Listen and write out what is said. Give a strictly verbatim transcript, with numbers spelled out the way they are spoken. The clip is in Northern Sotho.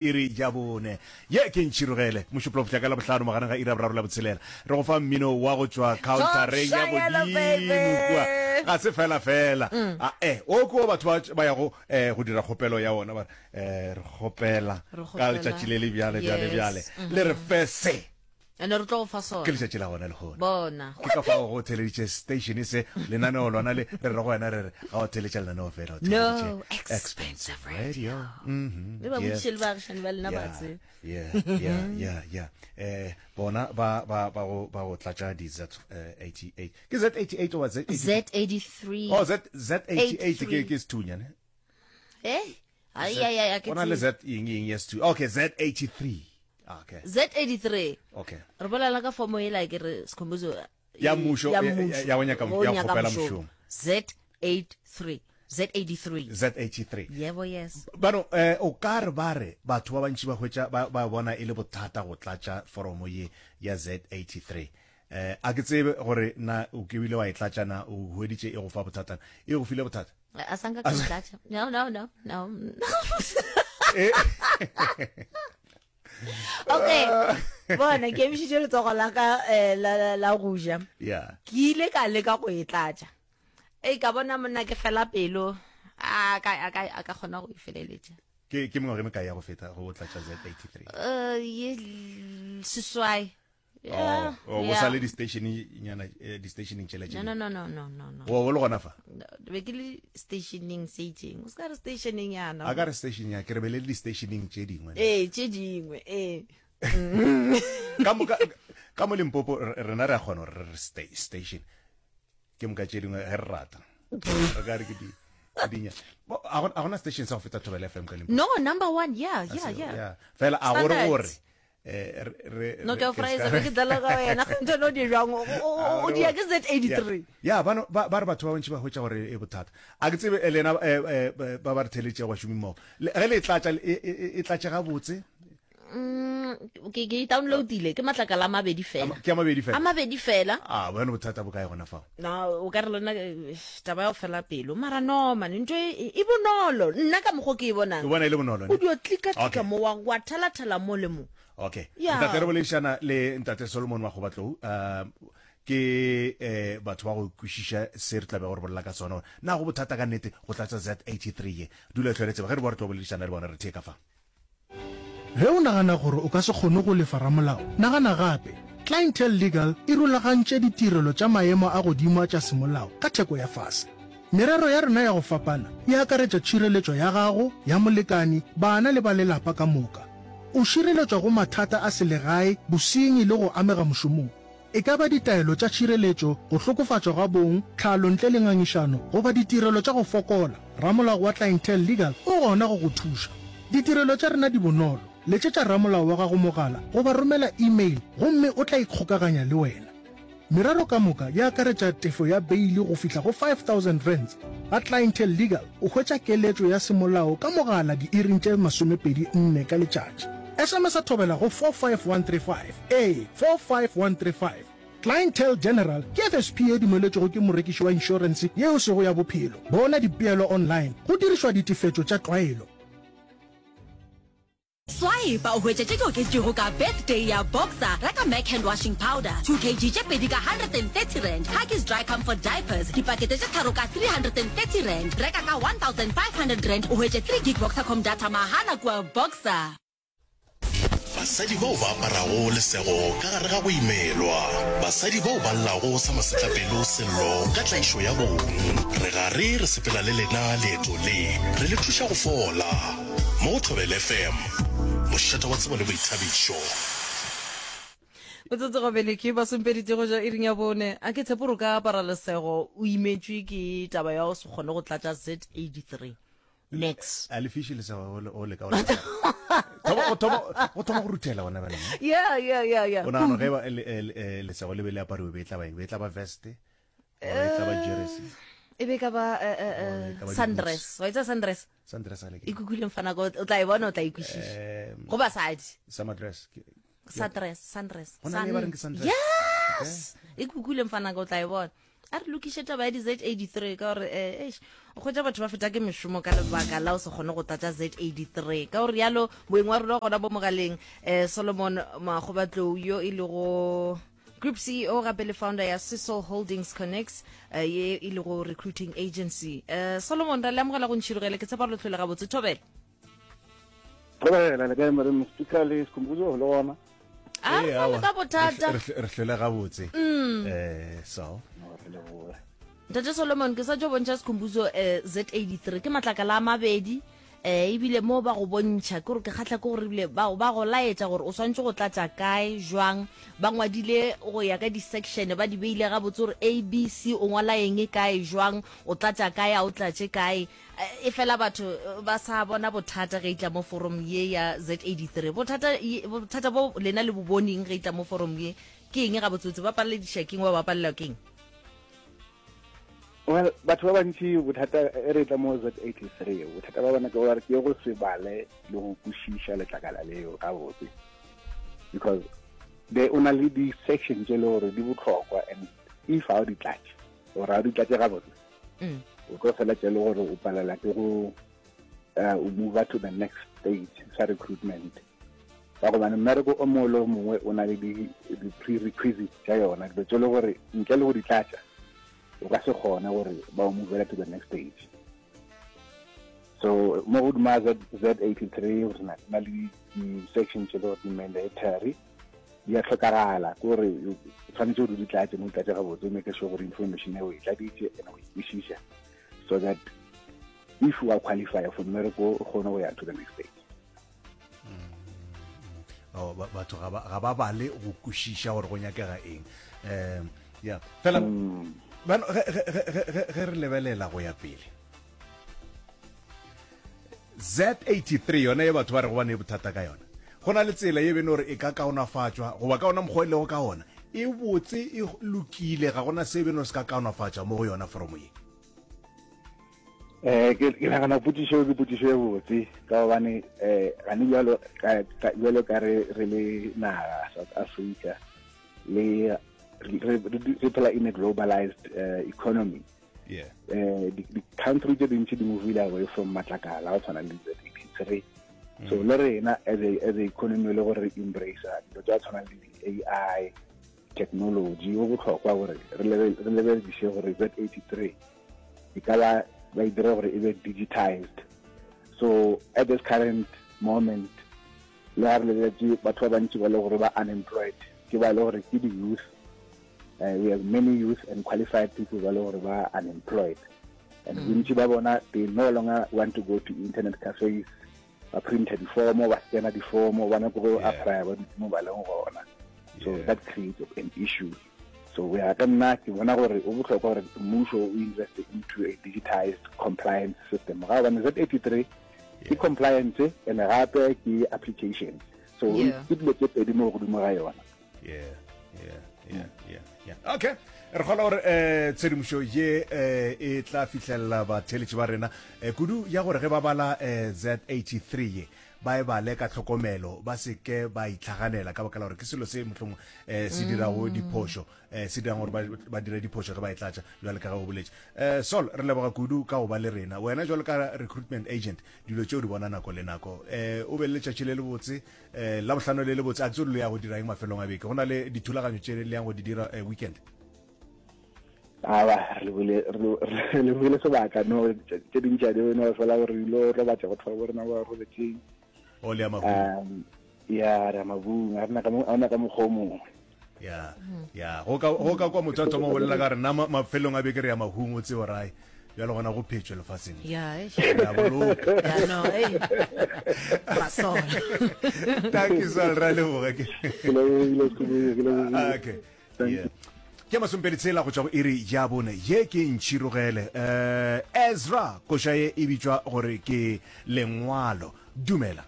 Iri ya bone. Ye ke Ntšhirogele, Mošupologo fihla ka Labohlano magareng ga iri ya boraro le ya botshelela. Re go fa mmino wa go tšwa khaontareng ya godimo kua. Ga se fela fela. A eh, o ke wo batho ba ba yago eh, go dira kgopelo ya ona ba re eh, re kgopela ka letšatši le le bjale bjale bjale le re fe se. Ene re tlo go fa sona. Ke letšatši la gona lehono. Bona. Ke ka fao go theleditše station se, lenaneo lona le, re re go wena re re, ga o theletša lenaneo fela, o theleditše No, Expensive Radio. Mhm. Le ba Yeah. botšiše le baagišani ba lena ba Yeah, tsebe. yeah, yeah, yeah, yeah. Eh, bona ba ba ba go ba go tlatša di Z eh, eighty-eight. Ke Z eighty-eight goba Z eighty-three? Z eighty-three. Oh, Z Z eighty-eight ke ke sethunya ne? Eh? Ai ai ai, ke Go na le tsebe. Z eng eng ya sethunya. Okay, Z eighty-three. Okay. Z eighty-three. Okay. Re bolela ka fomo ela ke re Skhumbuzo Ya mmušo, ya ya- mmušo. ya go nyaka- Go ya go nyaka kgopela mošomo. mošomo. Z eighty-three. Z eighty-three. Z eighty-three. Yebo, yes. Bano, eh, o ka re ba re batho ba bantši ba hwetša ba, ba bona e le bothata go tlatša foromo ye ya Z eighty-three. Eh, a ke tsebe gore na o ke bile wa e tlatša na o hweditše e go fa bothata. E go file bothata? A sa nka ka e tlatša. No, no, no, no. Eh. Okay. Bona, ke emišitše letsogo la ka, eh, la, la, la go ja. Yeah. Ke ile ka leka go e tlatša. Ei, ka bona monna ke fela pelo. A ka, a ka, a ka kgona go e feleletša. Ke, ke mengwaga e mekae ya go feta go tlatša Z eighty-three? Eh, ye seswai. Yeah, Oh, oh, yeah. o sa le di-station-nyana, eh, di-stationeng tšela tše No, dingwe. no, no, no, no, no, no. O, o le gona fa? No, be ke le stationeng se itseng. O se ka re stationeng yana. A ka re station ya, ke re be le di-stationeng tše dingwe. Ee, tše dingwe, ee. Ka mo, ka, ka mo Limpopo, re, rena re a kgona gore re re sta-, station. Ke moka tše dingwe ge re rata. Re ka re ke di, ke di nya. Bo, a gona, a gona station sa go feta Thobela F M ka Limpopo. No, number one, yeah, yeah, Seo, yeah. yeah. Fela a gore Standard. gore, eh, re, re, No, re, ke a ke fraisa, ska- be ke dlala ka wena, ga ntho no di jwang, o, o, o, o dia ke Z eighty-three. Ya, ya, bano, ba, ba re batho ba bantši ba hwetša gore e bothata. A ke tsebe, eh, lena, eh, eh, ba ba re theletšego bašomi mmogo. Le, ge le e tlatša, e, e, e, e tlatše gabotse? Mm, ke, ke e downloadile, ke matlakala a mabedi fela. Ke a mabedi fela? A mabedi fela. A, bone bothata bo kae gona fao? Na, o ka re lona, eh, taba ya go fela pelo. Mara no, man, ntho e, e bonolo. Nna ka mokgwa ke e bonang. O bona e le bonolo, ne? O dio klika-klika Okay. mo, wa, wa thala-thala mo le mo. Okay. Yeah. Ntate re boledišana le Ntate Solomon Makgobatlou, uh, ke, eh, batho ba go kwešiša se re tla bego re bolela ka sona. Na go bothata ka nnete go tlatša Z eighty-three ye? Dula e hlwele tseba ge re boa re tlo boledišana le bona re thee ka fa. Ge o nagana gore o ka se kgone go lefa ramolao, nagana gape. Clientele Legal e rulagantše ditirelo tša maemo a godimo tša semolao ka theko ya fase. Merero ya rena ya go fapana e akaretša tšhireletšo ya gago, ya molekani, bana le ba lelapa ka moka. O šireletšwa go mathata a selegae, bosenyi le go amega mošomong. E ka ba ditaelo tša tšhireletšo, go hlokofatšwa ga bong, tlhalo ntle le ngangišano, goba ditirelo tša go fokola. Ramolao wa Clientele Legal o gona go go thuša. Ditirelo tša rena di bonolo. Letšetša ramolao wa gago mogala goba romela email gomme o tla ikgokaganya le wena. Merero ka moka e akaretša tefo ya beile go fihla go five thousand rands. Ga Clientele Legal o hwetša keletšo ya semolao ka mogala diiring tše masomepedi nne ka letšatši. S M S a thobela go four five one three five. Ee, four five one three five. Clientele General ke F S P e dumeletšwego ke morekiši wa inšorense yeo sego ya bophelo. Bona dipeelo online go dirišwa ditefetšo tša tlwaelo. Swipe o hwetše tše di oketšwego ka birthday ya Boxer. Reka Mac hand washing powder two kilograms tše pedi ka hundred and thirty rand. Huggies dry comfort diapers dipakete tše tharo ka three hundred and thirty rand. Reka ka one thousand five hundred rand o hwetše three gig Boxercom data mahala kua Boxer. Basadi bao ba aparago lesego ka gare ga go imelwa. Basadi bao ba llago sa masetlapelo sello ka tlaišo ya bong. Re gare re sepela le lena leeto le, re le thuša go fola. Mo go Thobela F M, mošate wa tsebo le boithabišo. Metsotso go bele ke masomepedi go ja iring ya bone. A ke tshepe gore o ka apara lesego o imetšwe ke taba ya go se kgone go tlatša Z eighty-three. Next. A le fiše lesego o le, o le ka o le. Thoma, go thoma, go thoma go ruthela gona bjale, ne? Yeah, yeah, yeah, yeah. O nagana ge ba, le, le, le, lesego le be le apariwe, be e tla ba eng? Be e tla ba vest? Goba e tla ba jersey? E be ka ba, eh, eh, Goba e ka ba sundress. di-boots. Wa itse sundress? Sundress a le ke? E kukile mfana ko, o tla e bona, o tla e kwešiša. Eh, Go basadi. Summer dress. Ke, ke, Sundress, sundress. Go na le ba reng ke sundress? Yes! Okay. E kukile mfana ko, o tla e bona. A re lokiše taba ya di Z eighty-three ka gore, eh, eish, O hwetša batho ba feta ke mešomo ka lebaka la o se kgone go tlatša Z eighty three. Ka go rialo, moeng wa rena gona bo mogaleng, um Solomon Makgobatlou, yo e lego Group C E O gape le founder ya Sisol Holdings Connects, uh, ye e lego recruiting agency. uh, Solomon, ra le amogela go Ntšhirogele. Ke tshepa gore le tlhole gabotse. Thobela. Thobela, le kae, Madam Speaker le Sekhumbuzo le gona? A Ee, re aowa. ka bothata. Re hle- re hlole gabotse um so No, re leboge. Ntate Solomon, ke sa tšo bontšha Sekhumbuzo um Z eighty-three, ke matlakala a mabedi, um ebile mo ba go bontšha ke gore ke kgatlha ke gore ebile ba ba go laetša gore o swantse go tlatša kae, jwang. Ba ngwadile go ya ka di-section, ba di beile gabotse gore A, B, C, o ngwala eng kae, jwang, o tlatša kae, a o tlatše kae. Eh, e fela batho eh, ba sa bona bothata ge e tla mo forum ye ya Z eighty-three. Bothata ye- bothata bo lena le bo boneng ge e tla mo forum ye ke eng gabotsebotse? Ba palelediša keng, ba ba palela keng? Well, batho ba bantši, bothata e re tla mo Z eighty-three, bothata ba bona ke gore ke go se bale le go kwešiša letlakala leo gabotse, because de o na le di-section tše le gore di botlhokwa, and if ga o di tlatše or ga o di tlatše gabotse, Mm. o tlo feletša e le gore o palela ke go uh, o move to the next stage sa recruitment, ka gobane mmereko o mongwe le o mongwe o na le di-prerequisites tša yona, dilo tše le gore ntle le go di tlatša o ka se kgone gore ba o movela to the next stage. So mo godima Z Z83 re na na le di-section tše le gore di-mandatory, di a tlhokagala, ke gore o tshwanetse gore o di tlatše, mo di tlatše gabotse, o make sure gore information e o e tladitše and o e kwešiša, so that if you are qualify for mmereko, o kgone go ya to the next stage. Oh, ba- batho ga ba ga ba bale go kwešiša gore go nyakega eng. um ya fela bano ge ge- ge- ge- ge- ge re lebelela go ya pele Z eighty-three yona ye batho ba re go bane bothata ka yona, go na le tsela ye bene gore e ka kaonafatšwa, goba ka ona mokgwa e lego ka ona e botse, e lokile, ga gona se bene gore se ka kaonafatša mo go yona foromo ye? eh ke ke nagana potšišo ke potšišo e botse, ka gobane eh gane bjalo ka ka- bjalo ka re re le naga South Africa le re re- re phela in a globalized uh, economy. Yeah eh di di country tse dintsi di movile away from matlakala a go tshwana le Z eighty-three. So le rena as a as a economy le gore re embrace dilo tsa tshwana le di-A I technology, go botlhokwa gore re lebe- re lebelediše gore Z eighty-three e ka ba ba e dire gore e be digitized. So at this current moment, le ga re lebeletse batho ba bantsi ba le gore ba unemployed, ke ba le gore ke di-youth. uh, we have many youth and qualified people ba le gore ba unemployed, and bontsi ba bona, they no longer want to go to internet cafes, ba printa difomo, ba scanna difomo, ba nyako go Yeah. apply ba dutse mo ba leng gona. So Yeah. that creates an issue. So go ya ka nna, ke bona gore o botlhokwa gore mmuso o invest into a digitized compliance system, ga gobane Z eighty-three ke compliance and gape ke application, so Yeah. ke dilo tse pedi mo godimo ga yona. yeah yeah yeah yeah yeah okay, re kgona gore um tshedimošo ye um e tla fihlelela batheeletši ba rena, um kudu ya gore ge ba bala um Z eighty-three ye, ba e bale ka tlhokomelo, ba se ke ba itlhaganela, ka baka la gore ke selo se mohlomong um se dirago diphošo, um se dirang gore ba- ba dire diphošo ge ba e tlatša, jwale ka ge o boletše. um Sol, re leboga kudu ka go ba le rena. Wena jwalo ka recruitment agent, dilo tšeo di bona nako le nako. um o be le letšatši le le botse, um la bohlano le le botse. A ke tsebe le ya go dira eng mafelong a beke, go na le dithulaganyo tše le yang go di dira eh, weekend? Aba re lebile, re lebile sebaka no tše dintši a di no fela gore ilo robatša batho ba bo rena ba robetseng. O le ya mahung? um ya, re ya mabung, a rena ka mo- a ona ka mokgwa o mongwe. Ya ya, go ka go ka kwa motho a thoma go bolela ka re nna ma- mafelong a beke re ya mahung, o tsebo rae bjalo gona go phetswe lefaseng. Ya, eish. Re a boloka. Ya, no, ei. Masola. Thank you, Sol, ra leboga ke. Ke lebogile, Sekhukhune, ke lebogile. Okay. Thank Yeah. Ke masomepedi tshela go tšwa go iri ya bone. Ye ke Ntšhirogele, um Ezra koša ye e bitšwa gore ke Lengwalo. Dumela.